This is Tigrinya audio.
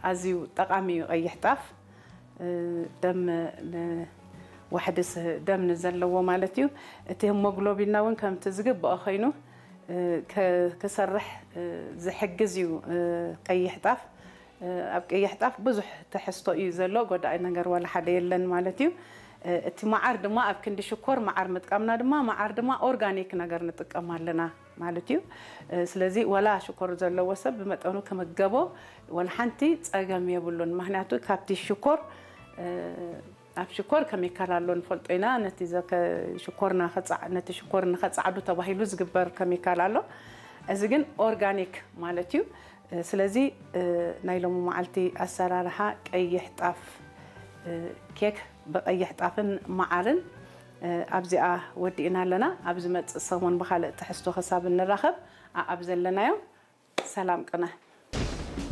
ኣዝዩ ጠቓሚ እዩ። ቀይሕ ጣፍ ደም ዋሕዲ ደም ንዘለዎ ማለት እዩ። እቲ ሄሞግሎቢንና እውን ከምቲ ዝግብኦ ኮይኑ ክሰርሕ ዝሕግዝ እዩ። ቀይሕ ጣፍ ኣብ ቀይሕ ጣፍ ብዙሕ ትሕዝቶ እዩ ዘሎ፣ ጎዳኢ ነገር ዋላ ሓደ የለን ማለት እዩ። እቲ መዓር ድማ ኣብ ክንዲ ሽኮር መዓር ምጥቃምና ድማ፣ መዓር ድማ ኦርጋኒክ ነገር ንጥቀም ኣለና ማለት እዩ። ስለዚ ዋላ ሽኮር ዘለዎ ሰብ ብመጠኑ ክምገቦ ዋላ ሓንቲ ጸገም የብሉን። ምክንያቱ ካብቲ ሽኮር ኣብ ሽኮር ከሚካል ኣሎ ንፈልጦ ኢና። ነቲ ዘከ ሽኮርና ከጻዕ ነቲ ሽኮር ንኸጻዕዱ ተባሂሉ ዝግበር ከሚካል ኣሎ። እዚ ግን ኦርጋኒክ ማለት እዩ። ስለዚ ናይ ሎሚ መዓልቲ ኣሰራርሓ ቀይሕ ጣፍ ኬክ ብቀይሕ ጣፍን መዓርን ኣብዚኣ ወዲእና ኣለና። ኣብ ዝመጽእ ሰሙን ብኻልእ ትሕዝቶ ክሳብ እንራኸብ ኣኣብ ዘለናዮ ሰላም ቅነ።